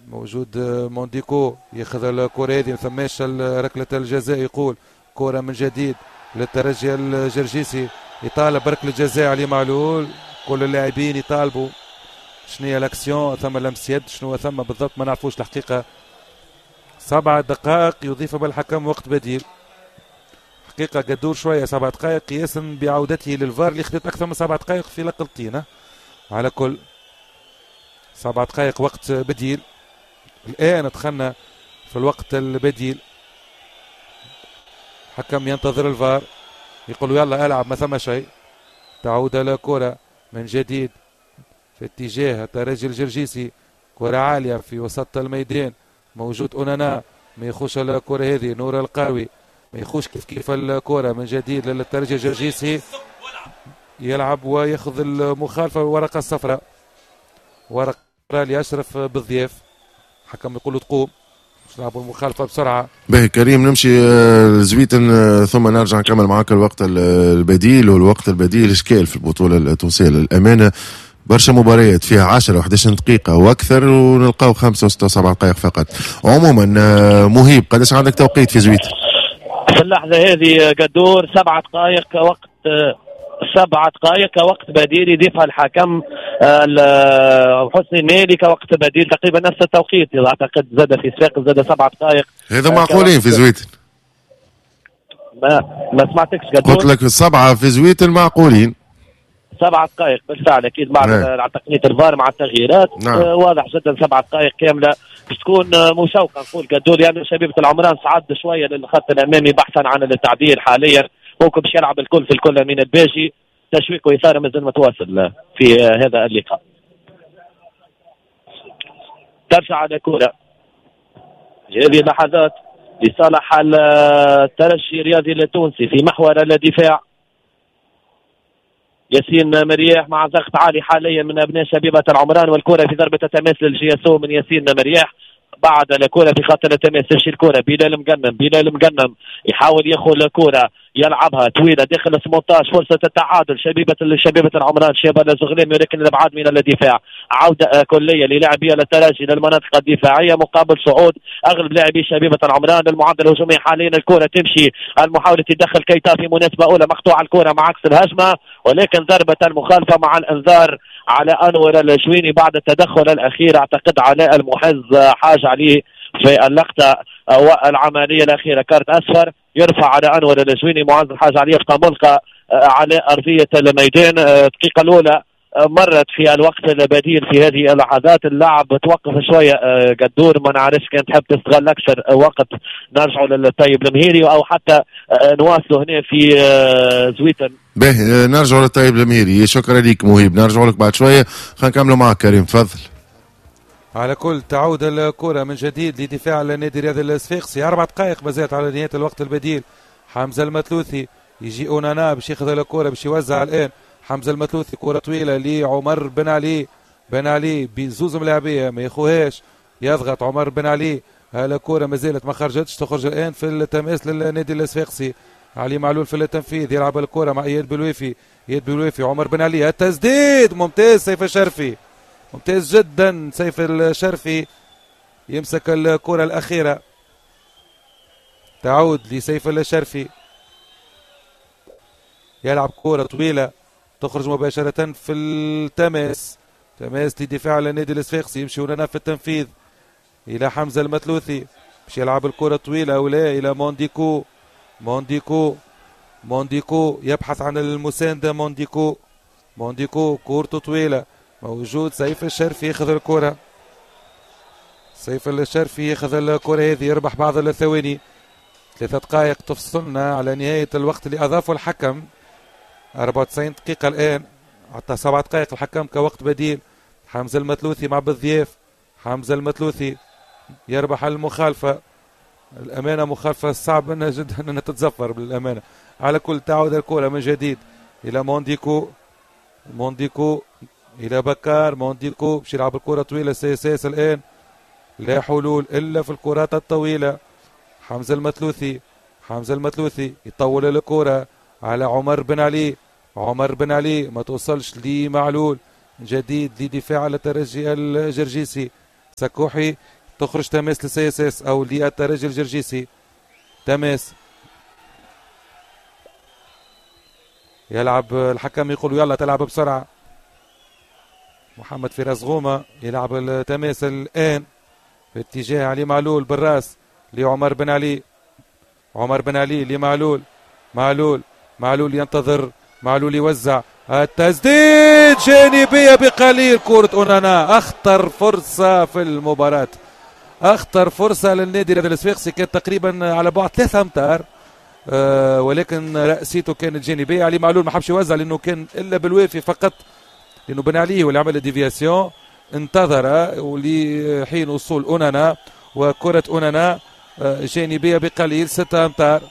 موجود مونديكو ياخذ الكرة هذه، ما ثماش ركلة الجزاء، يقول كرة من جديد للترجي الجرجيسي، يطالب بركلة جزاء علي معلول. كل اللاعبين يطالبوا، شنو هي l'action؟ ثم لمس يد، شنو ثم بالضبط ما نعرفوش الحقيقة. 7 دقائق يضيف بالحكم وقت بديل، حقيقة قدور شوية 7 دقائق قياسا بعودته للفار اللي خدت أكثر من 7 دقائق في لقلتين. على كل 7 دقائق وقت بديل، الآن دخلنا في الوقت البديل. حكم ينتظر الفار، يقول يلا العب ما ثم شيء. تعود الكرة من جديد في اتجاه الترجي الجرجيسي، كرة عالية في وسط الميدان، موجود أونانا ما يخوش الكرة هذه، نور القروي ما يخوش كيف كيف الكرة من جديد للترجي الجرجيسي، يلعب وياخذ المخالفة والورقة الصفراء، ورقة لأشرف بالضياف. حكم يقول له تقوم باش نلعبوا المخالفة بسرعة. باهي كريم، نمشي لزويتن ثم نرجع نكمل معاك الوقت البديل. والوقت البديل إشكال في البطولة التونسية للأمانة، برشا مباريات فيها 10 و11 دقيقة وأكثر، ونلقاو 5 و6 و7 دقائق فقط. عموما مهيب، قداش عندك توقيت في زويتن؟ في اللحظة هذه قدور 7 دقائق وقت، 7 دقائق وقت بديل يضيفها الحكم حسني المالي كوقت بديل، تقريبا نفس التوقيت اعتقد، زاد في صفاقس زاد 7 دقائق. هذا معقولين في زويتن؟ ما سمعتكش قدور. قلت لك 7 في زويتن معقولين. 7 دقائق بالفعل اكيد مع تقنية الفار مع التغييرات. نعم. واضح جدا 7 دقائق كاملة باش تكون مشوقة نقول قدور، لانه يعني شبيبة العمران صعد شوية للخط الامامي بحثا عن التعديل حاليا، ممكن باش يلعب الكل في الكل من الباجي. تشويق وإثارة مازال متواصل في هذا اللقاء. ترجع على كرة هذه اللحظات لصالح الترجي الرياضي التونسي في محور الدفاع. ياسين مرياح مع ضغط عالي حاليا من أبناء شبيبة العمران، والكرة في ضربة التماس لل JSO من ياسين مرياح. بعد الكرة في خط التماس تمشي الكرة بلال مقنم، بلال مقنم يحاول ياخذ الكرة يلعبها طويلة داخل 18، فرصة التعادل شبيبة العمران شباب الزغلامي، ولكن الابعاد من الدفاع. عودة كلية للاعبي الترجي للمناطق الدفاعية مقابل صعود اغلب لاعبي شبيبة العمران للمعدل الهجومي حاليا. الكرة تمشي، المحاولة تدخل كيتا في مناسبة اولى، مقطوعة الكرة مع عكس الهجمة، ولكن ضربة المخالفة مع الانذار على انور الجويني بعد التدخل الاخير. اعتقد علاء المحز حاجة عليه في اللقطة والعملية الأخيرة، كارت أصفر يرفع على أنور الجويني. معز الحاج علي يبقى ملقى على أرضية الميدان. الدقيقة الأولى مرت في الوقت البديل في هذه اللحظات، اللعب توقف شوية قدور، ما نعرفش كان تحب تستغل أكثر وقت نرجعوا للطيب المهيري أو حتى نواصلوا هنا في زويتن. باهي نرجعوا للطيب المهيري، شكرا لك مهيب، نرجعوا لك بعد شوية، خلينا نكملوا معك كريم، تفضل. على كل تعود الكرة من جديد لدفاع النادي الرياضي الصفاقسي، 4 دقائق ما زالت على نهاية الوقت البديل. حمزة المثلوثي يجي أونانا باش ياخذ الكرة باش يوزع الآن. حمزة المثلوثي كرة طويلة لعمر بن علي، بن علي بزوز ملاعبية ما ياخوهاش، يضغط عمر بن علي، الكرة ما زالت ما خرجتش، تخرج الآن في التماس للنادي الصفاقسي. علي معلول في التنفيذ، يلعب الكرة مع إياد بلويفي، إياد بلويفي عمر بن علي، التسديد ممتاز سيف الشرفي، ممتاز جدا سيف الشرفي يمسك الكرة الأخيرة، تعود لسيف الشرفي، يلعب كرة طويلة تخرج مباشرة في التماس، تماس لدفاع النادي الصفاقسي، يمشي هنا في التنفيذ إلى حمزة المثلوثي باش يلعب الكرة طويلة أو لا إلى مونديكو، مونديكو، مونديكو يبحث عن المساندة، مونديكو، مونديكو كورته طويلة، موجود سيف الشرفي ياخذ الكرة، سيف الشرفي ياخذ الكرة هذه، يربح بعض الثواني، 3 دقائق تفصلنا على نهاية الوقت اللي أضافه الحكم، 94 دقيقة الآن، حتى 7 دقائق الحكم كوقت بديل. حمزة المثلوثي مع بالضياف، حمزة المثلوثي يربح المخالفة، الأمانة مخالفة صعب انها جدا أنها تتزفر بالأمانة. على كل تعود الكرة من جديد إلى مونديكو، مونديكو إلى بكار، مونديكو باش يلعب الكرة طويلة، CSS الآن لا حلول إلا في الكرات الطويلة. حمزة المثلوثي، حمزة المثلوثي يطول الكرة على عمر بن علي، عمر بن علي ما توصلش لمعلول، جديد لدفاع على الترجي الجرجيسي. سكوحي تخرج تماس لل CSS او للترجي الجرجيسي. تماس يلعب الحكم يقول يلا تلعب بسرعة. محمد فراس غومة يلعب التماس الآن في اتجاه علي معلول بالراس لعمر بن علي. عمر بن علي لمعلول، معلول، معلول ينتظر، معلول يوزع، التسديد جانبية بقليل. كرة أونانا، أخطر فرصة في المباراة، أخطر فرصة للنادي الرياضي الصفاقسي، كانت تقريبا على بعد 3 أمتار، ولكن رأسيته كانت جانبية. علي معلول ما حبش يوزع لأنه كان إلا بالوافي فقط، لأنه بن علي هو اللي عمل déviation، انتظر ولحين وصول أونانا، وكرة أونانا جانبية بقليل 6 أمتار.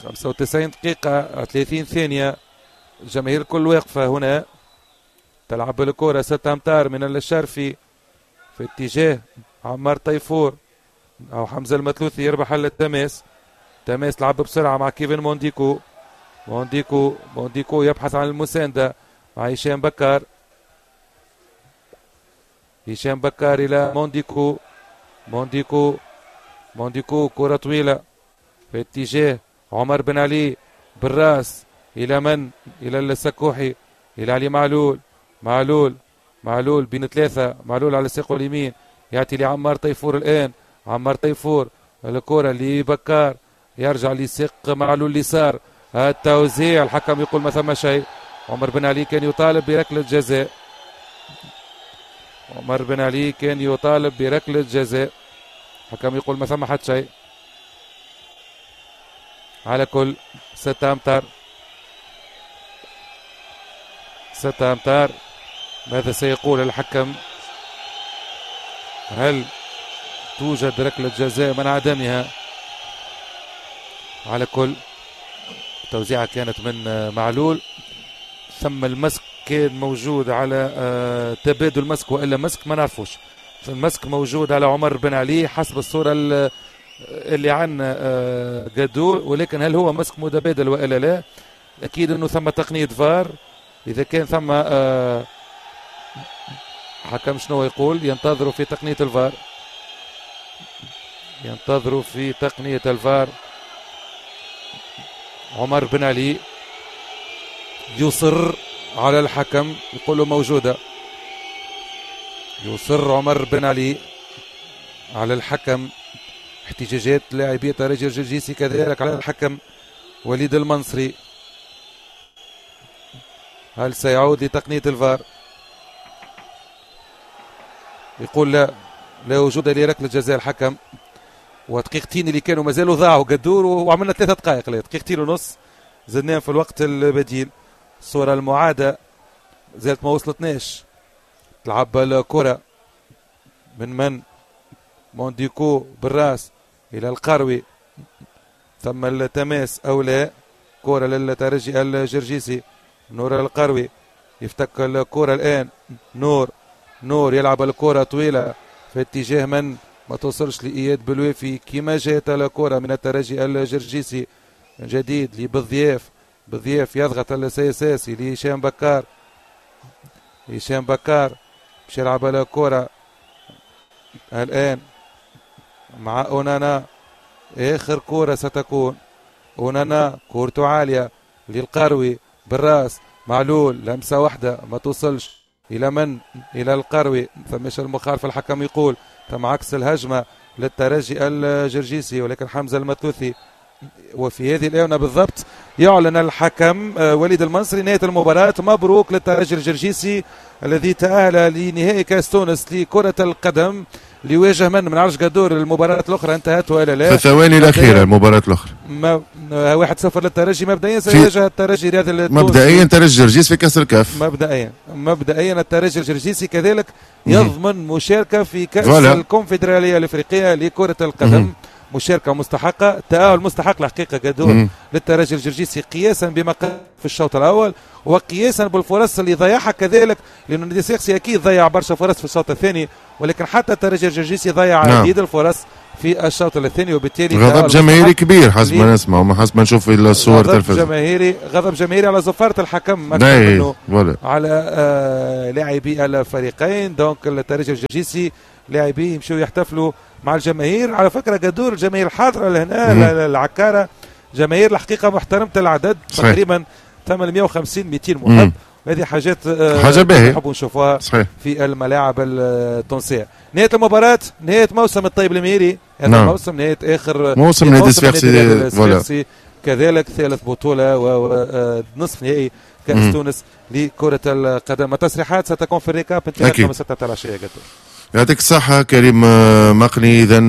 95 دقيقة 30 ثانية، الجماهير الكل واقفة هنا، تلعب الكرة 6 أمتار من الشرفي في اتجاه عمار طيفور أو حمزة المثلوثي، يربح التماس. تماس لعب بسرعة مع كيفن مونديكو، مونديكو، مونديكو يبحث عن المساندة مع هشام بكار. هشام بكار إلى مونديكو، مونديكو، مونديكو، كرة طويلة في اتجاه عمر بن علي بالراس إلى من؟ إلى السكوحي، إلى علي معلول، معلول، معلول بين 3، معلول على ساقه اليمين يعطي لعمار طيفور الآن. عمار طيفور الكرة لبكار، يرجع لساق معلول اليسار، التوزيع، الحكم يقول ما ثم شيء. عمر بن علي كان يطالب بركلة جزاء، عمر بن علي كان يطالب بركلة جزاء، الحكم يقول ما ثم حد شيء. على كل 6 أمتار، 6 أمتار، ماذا سيقول الحكم؟ هل توجد ركلة جزاء من عدمها؟ على كل التوزيعة كانت من معلول، ثم المسك كان موجود على تبادل مسك والا مسك ما نعرفوش. المسك موجود على عمر بن علي حسب الصورة اللي عندنا قدور، ولكن هل هو مسك متبادل والا لا؟ اكيد انه ثم تقنية فار. اذا كان ثم حكم شنو يقول؟ ينتظروا في تقنية الفار، ينتظروا في تقنية الفار. عمر بن علي يصر على الحكم يقول له موجودة، يصر عمر بن علي على الحكم. احتجاجات لاعبي ترجي الجرجيسي كذلك على الحكم وليد المنصري. هل سيعود لتقنية الفار؟ يقول لا، لا وجود لركلة جزاء الحكم. ودقيقتين اللي كانوا مازالوا ضاعوا قدور، وعملنا 3 دقائق، لا دقيقتين ونص زدناهم في الوقت البديل. الصورة المعادة زالت ما وصلتناش. تلعب الكرة من مونديكو بالراس إلى القروي، ثم التماس أو لا؟ كرة للترجي الجرجيسي، نور القروي يفتك الكرة الآن. نور، نور يلعب الكرة طويلة في اتجاه من؟ ما توصلش لإياد بلويفي كما جاءت الكرة من الترجي الجرجيسي. من جديد لبالضياف، بالضياف يضغط ال CSS لهشام بكار، هشام بكار باش يلعب الكرة الآن مع أونانا. آخر كرة ستكون أونانا، كورته عالية للقروي بالراس، معلول لمسة واحدة ما توصلش إلى من؟ إلى القروي. فمش المخالفة الحكم يقول، تم عكس الهجمة للترجي الجرجيسي، ولكن حمزة المثلوثي. وفي هذه الآونة بالضبط يعلن الحكم وليد المنصري نهاية المباراة. مبروك للترجي الجرجيسي الذي تأهل لنهائي كأس تونس لكرة القدم، ليواجه من عرش قدور. المباراة الأخرى انتهت ولا لا؟ في الثواني الأخيرة المباراة الأخرى 1-0 للترجي مبدئيا. سيواجه الترجي رياض التونسي مبدئيا، ترجي الجرجيس في كأس الكاف مبدئيا. الترجي الجرجيسي كذلك يضمن مشاركة في كأس الكونفدرالية الأفريقية لكرة القدم. مشاركة مستحقة، تأهل مستحق الحقيقة قدور للترجي الجرجيسي قياسا بما قدم في الشوط الأول، وقياسا بالفرص اللي ضيعها كذلك، لأنه النادي الصفاقسي أكيد ضيع برشا فرص في الشوط الثاني، ولكن حتى الترجي الجرجيسي ضيع عديد الفرص في الشوط الثاني، وبالتالي غضب جماهيري كبير حسب ما نسمع وما حسب ما نشوف في الصور التلفزيون، جماهيري، غضب جماهيري على زفارة الحكم أكثر منه على لاعبي الفريقين. donc الترجي الجرجيسي لاعبيه يمشوا يحتفلوا مع الجماهير. على فكرة قدور الجماهير الحاضرة لهنا العكارة جماهير الحقيقة محترمة العدد، تقريبا 850 200 محب، هذه حاجات حاجة باهية نحبوا نشوفوها في الملاعب التونسية. نهاية المباراة، نهاية موسم الطيب المهيري هذا الموسم، نهاية آخر موسم نادي الصفاقسي، كذلك ثالث بطولة ونصف نهائي كأس تونس لكرة القدم. التصريحات ستكون في ال récap انطلاقا من 6 العشية. يعطيك الصحة كريم مقني. إذا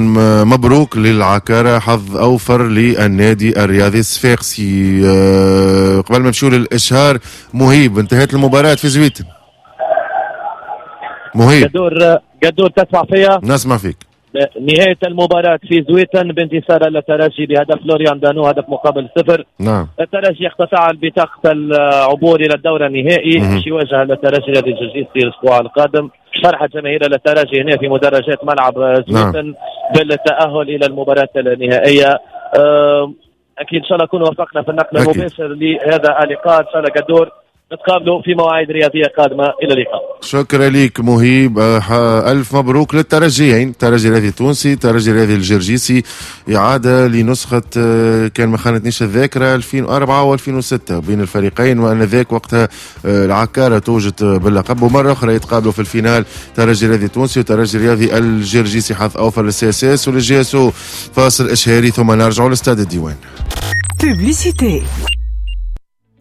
مبروك للعكارة، حظ أوفر للنادي الرياضي الصفاقسي. قبل ما نمشيو للإشهار، مهيب انتهت المباراة في زويتن. مهيب قدور تسمع فيا؟ نسمع فيك. نهاية المباراة في زويتن بانتصار الترجي بهدف لوريان دانو، هدف مقابل 0. نعم. الترجي اقتطع بطاقة العبور إلى الدور النهائي باش يواجه الترجي الرياضي الجرجيسي الأسبوع القادم. فرحة جماهير الترجي هنا في مدرجات ملعب زويتن بالتأهل إلى المباراة النهائية. أكيد إن شاء الله نكون وفقنا في النقل المباشر لهذا اللقاء. إن شاء الله قدور نتقابلوا في مواعيد رياضية قادمة. إلى اللقاء. شكرا لك مهيب. ألف مبروك للترجيين، الترجي الرياضي التونسي، الترجي الرياضي الجرجيسي، إعادة لنسخة كان ما خانتنيش الذاكرة 2004 و2006 بين الفريقين، وأنذاك وقتها العكارة توجت باللقب، ومرة أخرى يتقابلوا في ال finale الترجي الرياضي التونسي والترجي الرياضي الجرجيسي. حظ أوفر لل CSS ولل JSO. فاصل إشهاري ثم نرجع لاستاد الديوان. Publicité.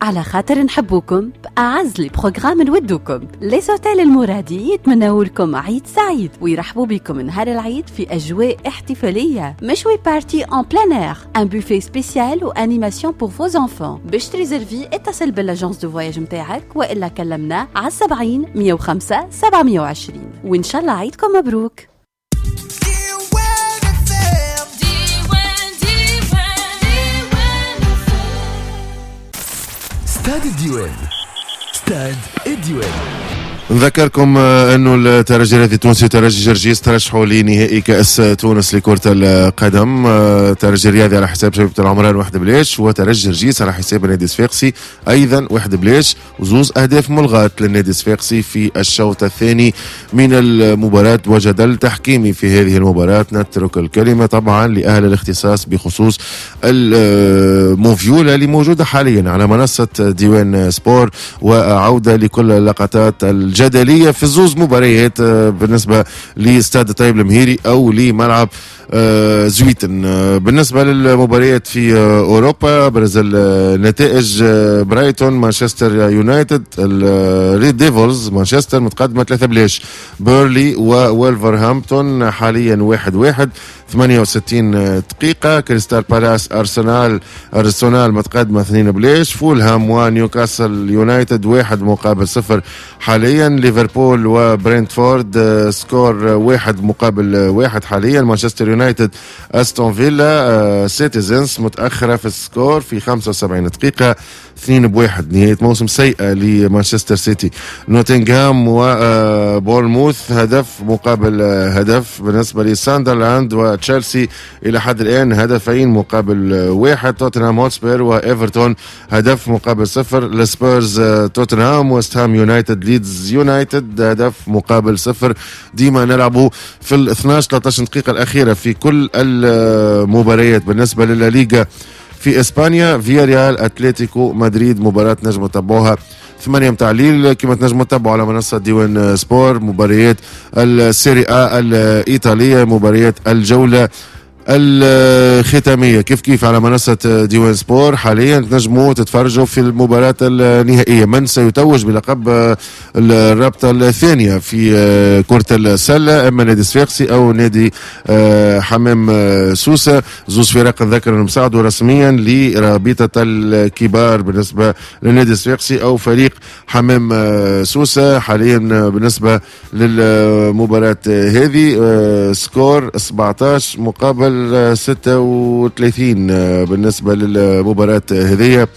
على خاطر نحبوكم بأعز les programmes نودوكم. les hôtels المرادي يتمنوا لكم عيد سعيد ويرحبوا بكم نهار العيد في أجواء احتفالية، مشوي party en plein air، un buffet spécial و animation pour vos enfants. باش تريزرفي اتصل بال agence de voyage نتاعك والا كلمنا على 70 105 720، وإن شاء الله عيدكم مبروك. ستاد الديوان، ستاد الديوان. نذكركم انه الترجي الرياضي التونسي وترجي جرجيس ترشحوا لنهائي كأس تونس لكرة القدم. الترجي الرياضي على حساب شبيبة العمران 1-0، وترجي جرجيس على حساب النادي الصفاقسي ايضا 1-0، وزوز اهداف ملغاة للنادي الصفاقسي في الشوط الثاني من المباراة، وجدل تحكيمي في هذه المباراة. نترك الكلمة طبعا لأهل الاختصاص بخصوص الموفيولا اللي موجودة حاليا على منصة ديوان سبور، وعودة لكل اللقطات الجدلية في زوز مباريات بالنسبة لاستاد طيب المهيري أو لملعب زويتن. بالنسبة للمباريات في أوروبا، أبرز النتائج برايتون مانشستر يونايتد، ال Red Devils مانشستر متقدمة 3-0، بيرلي وولفرهامبتون حاليا 1-1 68 دقيقة، كريستال بالاس أرسنال متقدمة 2-0، فولهام ونيوكاسل يونايتد 1-0 حاليا، ليفربول وبرنتفورد score 1-1 حاليا، مانشستر يونايتد أستون فيلا سيتيزنز متأخرة في ال score في 75 دقيقة 2-1. نهاية موسم سيئة لمانشستر سيتي. نوتنغهام وبورنموث 1-0 بالنسبة لساندرلاند وتشيلسي إلى حد الآن 2-1. توتنهام هوتسبير وإيفرتون 1-0. السبيرز توتنهام، وست هام يونايتد ليدز يونايتد 1-0. ديما نلعبوا في ال 12-13 دقيقة الأخيرة في كل المباريات. بالنسبة للليغا في إسبانيا، فياريال أتلتيكو مدريد مباراة نجم تتبعوها 8 متاع الليل، كما تنجموا تتبعوا على منصة ديوان سبور مباريات ال Serie A الإيطالية، مباريات الجولة الختامية كيف كيف على منصة ديوان سبور. حاليا تنجموا تتفرجوا في المباراة النهائية، من سيتوج بلقب الرابطة الثانية في كرة السلة، اما نادي صفاقسي او نادي حمام سوسة. زوز فرق نذكر انهم صعدوا رسميا لرابطة الكبار بالنسبة للنادي الصفاقسي او فريق حمام سوسة. حاليا بالنسبة للمباراة هذه score 17 مقابل 36 بالنسبة للمباراة هذه.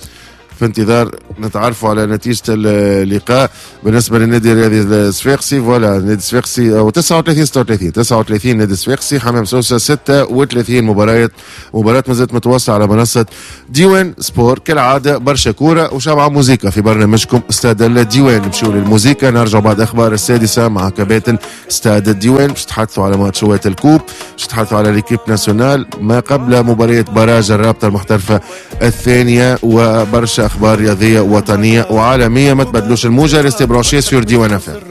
في انتظار نتعرفوا على نتيجة اللقاء بالنسبة للنادي الرياضي الصفاقسي. voilà، النادي الصفاقسي او 39 36، 39 نادي الصفاقسي، حمام سوسة 36. مباراة ما زالت متواصلة على منصة ديوان سبور. كالعادة برشا كورة وشبعة موزيكا في برنامجكم استاد الديوان. نمشيو للموزيكا، نرجع بعد اخبار السادسة مع كباتن استاد الديوان باش تحدثوا على ماتشات ال coupe، باش تحدثوا على l'équipe nationale، ما قبل مباريات barrage الرابطة المحترفة الثانية، وبرشا اخبار رياضية وطنية وعالمية. ما تبدلوش الموجة، restez branchés sur ديوان FM.